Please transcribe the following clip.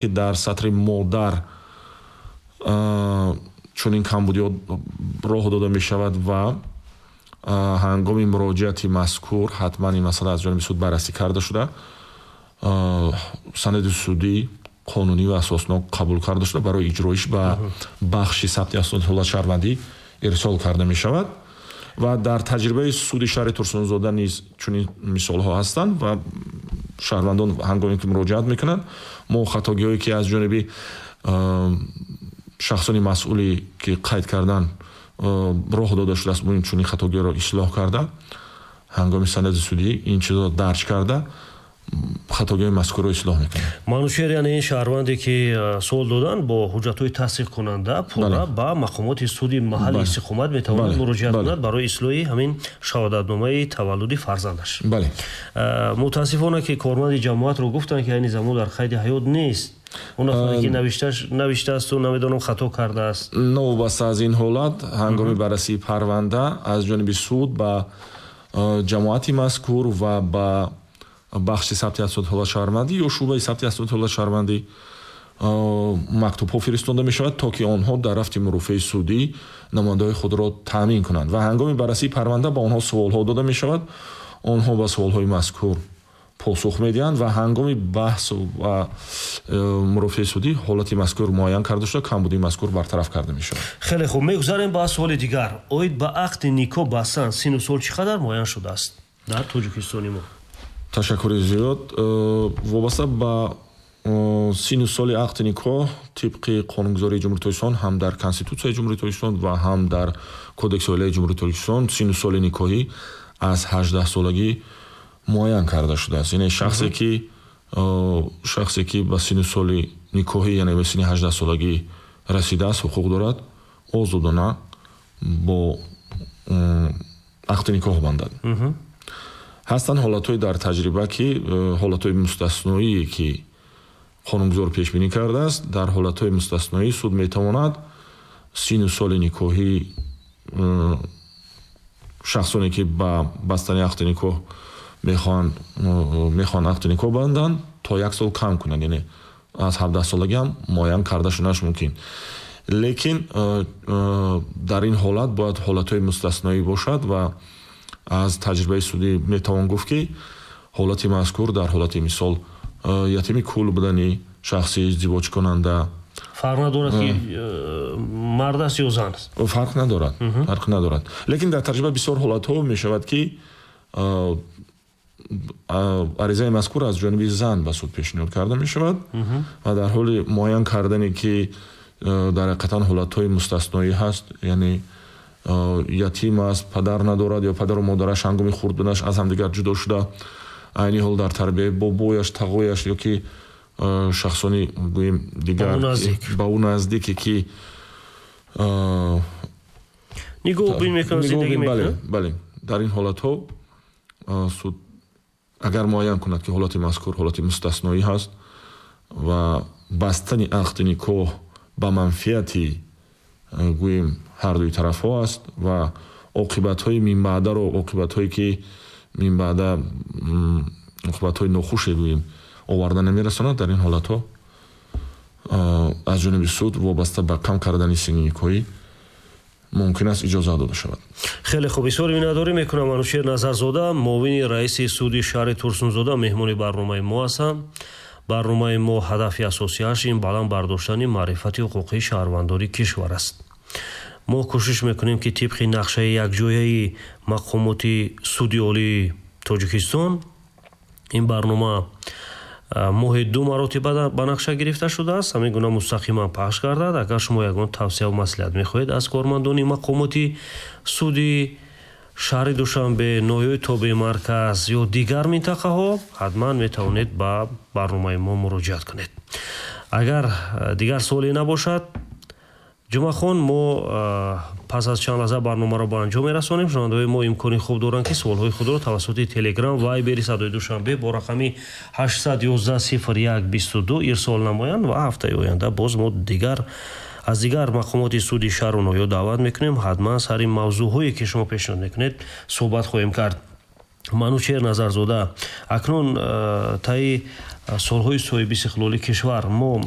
Дар сатри модар чунин камбудиҳо роҳ дода мешавад ва ҳангоми муроҷиати мазкур ҳатман ин масъала аз ҷониби суд баррасӣ карда шуда, санади судӣ қонунӣ ва асоснок қабул карда шуда, барои иҷроиш ба бахши сабти асноди ҳолати шаҳрвандӣ ирсол карда мешавад. Ва дар таҷрибаи суди шаҳри Турсунзода низ чунин мисолҳо ҳастанд ва шаҳрвандон ҳангоме ки муроҷиат мекунанд, мо хатогиҳое ки аз ҷониби шахсони масъуле ки қайд кардан роҳ дода шудааст, мо ин чунин хатогиҳоро ислоҳ карда, ҳангоми санади судӣ ин чизро дарҷ карда, хатогиҳои мазкурро ислоҳ мекунем. Манучеҳр, яъне ин шаҳрванде ки суол доданд, бо ҳуҷҷатҳои тасдиқкунанда пурра ба мақомоти суди маҳалли истиқомат метавонад муроҷиат кунад барои ислоҳи ҳамин шаҳодатномаи таваллуди фарзандаш. Мутаассифона, ки корманди ҷамоатро гуфтанд, ки айни замон дар қайди ҳаёт нест. Он нафаре ки навиштаасту намедонам, хато кардааст. Новобаста аз ин ҳолат, ҳангоми баррасии парванда аз ҷониби суд ба ҷамоати мазкур ва ба бахши сабти асноди ҳолати шаҳрвандӣ ё шӯъбаи сабти асноди ҳолати шаҳрвандӣ мактубҳо фиристонда мешавад, то ки онҳо дар рафти мурофиаи судӣ намояндаҳои худро таъмин кунанд ва ҳангоми баррасии парванда ба онҳо суолҳо дода мешавад, онҳо ба суолҳои мазкур посух медиҳанд ва ҳангоми баҳс ва мурофиаи судӣ ҳолати мазкур муайян карда шуда, камбудии мазкур бартараф карда мешавад. Хеле хуб, мегузарем ба суоли дигар. Оид ба ақди никоҳ бастан сину сол чӣ қадар муайян шудааст дар Тоҷикистони мо? Ташаккури зиёд. Вобаста ба сину соли ақди никоҳ, тибқи қонунгузории Ҷумҳурии Тоҷикистон, ҳам дар Конститутсияи Ҷумҳурии Тоҷикистон ва ҳам дар Кодекси оилаи Ҷумҳурии Тоҷикистон, сину соли никоҳӣ аз 18-солагӣ муайян карда шудааст. Яъне шахсе ки ба сину соли никоҳӣ, яъне ба синни 18-солагӣ расидааст, ҳуқуқ дорад озодона бо ақди никоҳ бандад. Ҳастанд ҳолатҳои дар таҷриба, ки ҳолатҳои мустасноие ки қонунгузор пешбинӣ кардааст. Дар ҳолатҳои мустасноӣ суд метавонад сину соли никоҳии шахсоне ки ба бастани ақди никоҳ мехоҳанд ақди никоҳ банданд, то як сол кам кунанд, яъне аз 17-солагӣ ҳам муайян карда шуданаш мумкин. Лекин дар ин ҳолат бояд ҳолатҳои мустасноӣ бошад ва аз таҷрибаи судӣ метавон гуфт, ки ҳолати мазкур дар ҳолати, мисол, ятими кул будани шахси издивоҷкунанда. Фарқ надорад, ки мард аст ё зан аст? Фарқ надорад, фарқ надорад. Лекин дар таҷриба бисёр ҳолатҳо мешавад, ки аризаи мазкур аз ҷониби зан ба суд пешниҳод карда мешавад ва дар ҳоли муайян кардане, ки дар ҳақиқатан ҳолатҳои мустасноӣ ҳаст, яъне ятим аст, падар надорад ё падару модараш ҳангоми хурд буданаш аз ҳамдигар ҷудо шуда, айни ҳол дар тарбияи бобояш, тағояш ё ки шахсони, гӯем, дигар ба ӯ наздике ки нигоҳубин мекунад, зиндагӣ мекунад. Бале, дар ин ҳолатҳо суд агар муайян кунад, ки ҳолати мазкур ҳолати мустасноӣ ҳаст ва бастани ақди никоҳ ба манфиати, гӯем, ҳардуи тарафҳо аст ва оқибатҳои минбаъдаро, оқибатҳое ки минбаъда оқибатҳои нохуше, гӯем, оварда намерасонад, дар ин ҳолатҳо аз ҷониби суд вобаста ба кам кардани синни никоҳӣ мумкин аст иҷоза дода шавад. Хеле хуб, изҳори миннатдорӣ мекунам. Анушер Назарзода, муовини раиси суди шаҳри Турсунзода, меҳмони барномаи мо ҳастанд. Барномаи мо ҳадафи асосиаш ин баланд бардоштани маърифати ҳуқуқии шаҳрвандони кишвар аст. Мо кӯшиш мекунем, ки тибқи нақшаи якҷояи мақомоти суди олии Тоҷикистон ин барнома моҳи ду маротиба ба нақша гирифта шудааст, ҳамин гуна мустақиман пахш гардад. Агар шумо ягон тавсияву маслиҳат мехоҳед аз кормандони мақомоти суди шаҳри Душанбе, ноҳияи тобеи марказ ё дигар минтақаҳо, ҳатман метавонед ба барномаи мо муроҷиат кунед. Агар дигар суоле набошад, Ҷумъахон, мо пас аз чанд лаҳза барномаро ба анҷом мерасонем. Шунавандаҳои мо имкони хуб доранд, ки суолҳои худро тавассути Телеграм, Вайбери Садои Душанбе бо рақами 811 01 22 ирсол намоянд ва ҳафтаи оянда боз мо дигар аз дигар мақомоти суди шаҳру ноҳиё даъват мекунем. Ҳатман сари мавзӯъҳое, ки шумо пешниҳод мекунед, суҳбат хоҳем кард. Манучеҳр Назарзода, акнун таи солҳои соҳибистиқлолии кишвар мо